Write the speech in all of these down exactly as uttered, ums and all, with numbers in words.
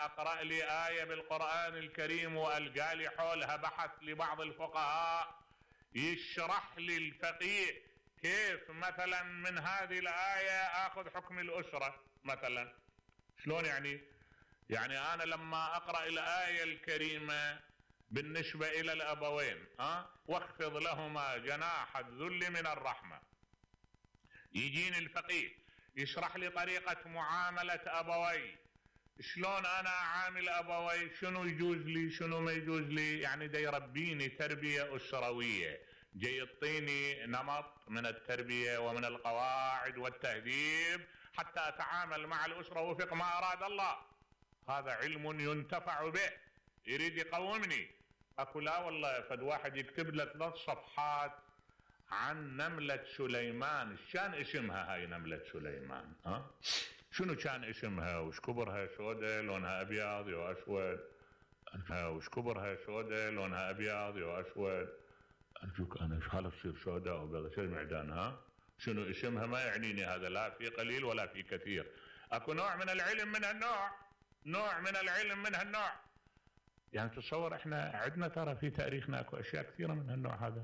اقرأ لي آية بالقرآن الكريم والقى لي حولها بحث لبعض الفقهاء يشرح لي الفقيه كيف مثلا من هذه الآية اخذ حكم الأسرة مثلا. شلون يعني؟ يعني انا لما اقرأ الآية الكريمة بالنسبة الى الابوين ها واخفض لهما جناح الذل من الرحمة، يجيني الفقيه يشرح لي طريقة معاملة ابوي، شلون انا اعامل ابوي، شنو يجوز لي شنو ما يجوز لي، يعني دا يربيني تربية اسروية، جاي يعطيني نمط من التربية ومن القواعد والتهذيب حتى اتعامل مع الاسرة وفق ما اراد الله. هذا علم ينتفع به، يريد يقومني. اكو لا والله فد واحد يكتب له ثلاث صفحات عن نملة سليمان، شان اسمها هاي نملة سليمان؟ ها شنو كان اسمها؟ وش كبرها سوداء لونها ابيض يا اسود؟ وش كبرها سوداء لونها ابيض يا اسود؟ ارجوك انا ايش حالة تصير سوداء وابيض؟ شو المعدانها؟ شنو اسمها؟ ما يعنيني هذا لا في قليل ولا في كثير. اكو نوع من العلم من هالنوع، نوع من العلم من هالنوع. يعني تصور احنا عندنا ترى في تاريخنا اكو اشياء كثيرة من هالنوع هذا.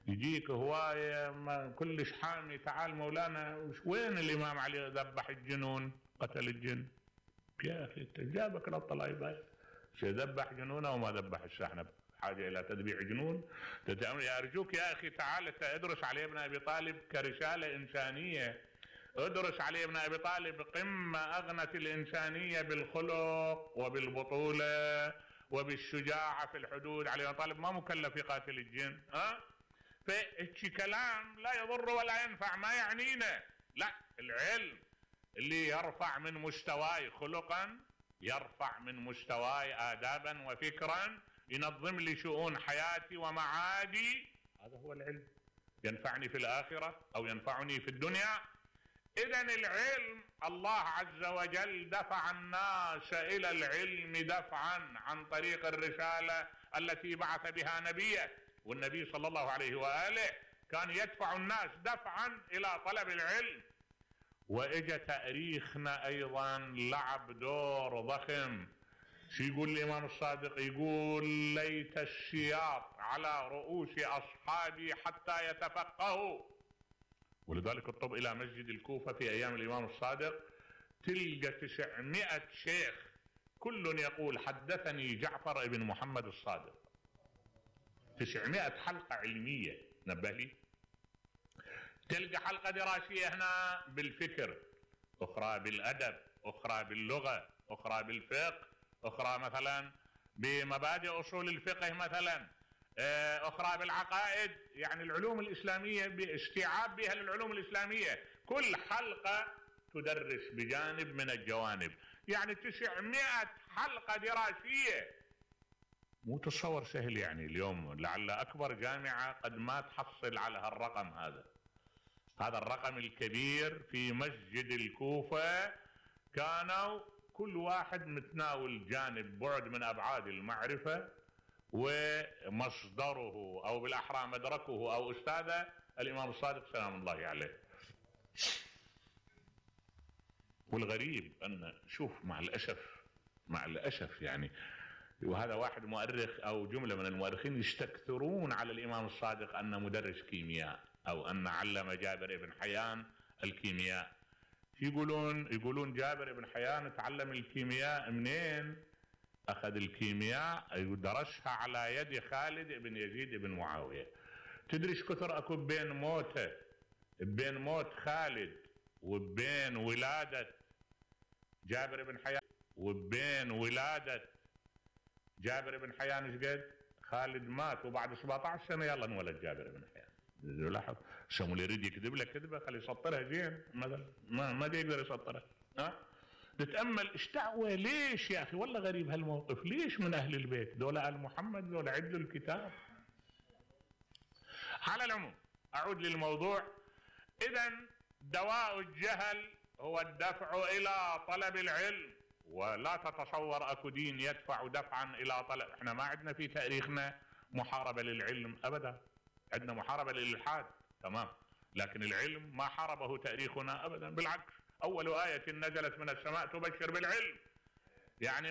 يجيك هواية ما كلش حامي، تعال مولانا وين الامام علي ذبح الجنون قتل الجن؟ يا اخي جابك للطلايبة ذبح جنونه وما ذبح السحنة حاجة الى تذبيح جنون؟ يا ارجوك يا اخي تعال ادرس علي ابن ابي طالب كرسالة انسانية، ادرس علي ابن ابي طالب قمة اغنت الانسانية بالخلق وبالبطولة وبالشجاعة في الحدود. علي ابن طالب ما مكلف يقاتل الجن ها؟ فهيك كلام لا يضر ولا ينفع ما يعنينا. لا، العلم اللي يرفع من مستواي خلقا، يرفع من مستواي آدابا وفكرا، ينظم لي شؤون حياتي ومعادي، هذا هو العلم، ينفعني في الآخرة أو ينفعني في الدنيا. إذن العلم الله عز وجل دفع الناس إلى العلم دفعا عن طريق الرسالة التي بعث بها نبيه، والنبي صلى الله عليه وآله كان يدفع الناس دفعا إلى طلب العلم. وإجا تاريخنا أيضا لعب دور ضخم. شو يقول الإمام الصادق؟ يقول ليت السياط على رؤوس أصحابي حتى يتفقهوا. ولذلك اطب إلى مسجد الكوفة في أيام الإمام الصادق تلقى تسعمائة شيخ كل يقول حدثني جعفر ابن محمد الصادق. تسعمائة حلقة علمية، نبه لي. تلقى حلقة دراسية هنا بالفكر، أخرى بالأدب، أخرى باللغة، أخرى بالفقه، أخرى مثلا بمبادئ أصول الفقه مثلا، أخرى بالعقائد، يعني العلوم الإسلامية باستيعاب بها للعلوم الإسلامية. كل حلقة تدرس بجانب من الجوانب، يعني تسعمائة حلقة دراسية. مو تصور سهل يعني اليوم، لعل أكبر جامعة قد ما تحصل على هالرقم هذا. هذا الرقم الكبير في مسجد الكوفة، كانوا كل واحد متناول جانب بعد من أبعاد المعرفة، ومصدره أو بالأحرى مدركه أو أستاذه الإمام الصادق سلام الله عليه. والغريب أن شوف مع الأسف مع الأسف يعني، وهذا واحد مؤرخ أو جملة من المؤرخين يستكثرون على الإمام الصادق أن مدرس كيمياء أو أن علم جابر بن حيان الكيمياء. يقولون يقولون جابر بن حيان تعلم الكيمياء منين؟ أخذ الكيمياء درسها على يد خالد بن يزيد بن معاوية. تدري كثر أكو بين موته بين موت خالد وبين ولادة جابر بن حيان وبين ولادة جابر بن حيان ايش قد؟ خالد مات وبعد سبعة عشر سنة يلا انولد جابر بن حيان. لاحظ سمو اللي يريد يكذب لك كذبه خلي يسطرها زين، مثلا ما ما يقدر يسطرها. ها تتامل ايش دعوه؟ ليش يا اخي؟ والله غريب هالموقف. ليش من اهل البيت دول ال محمد دول عدلوا الكتاب؟ على العموم اعود للموضوع. اذا دواء الجهل هو الدفع الى طلب العلم، ولا تتصور اكو دين يدفع دفعا الى طلب. احنا ما عندنا في تاريخنا محاربة للعلم ابدا، عندنا محاربة للإلحاد تمام، لكن العلم ما حاربه تاريخنا ابدا، بالعكس اول آية نزلت من السماء تبشر بالعلم. يعني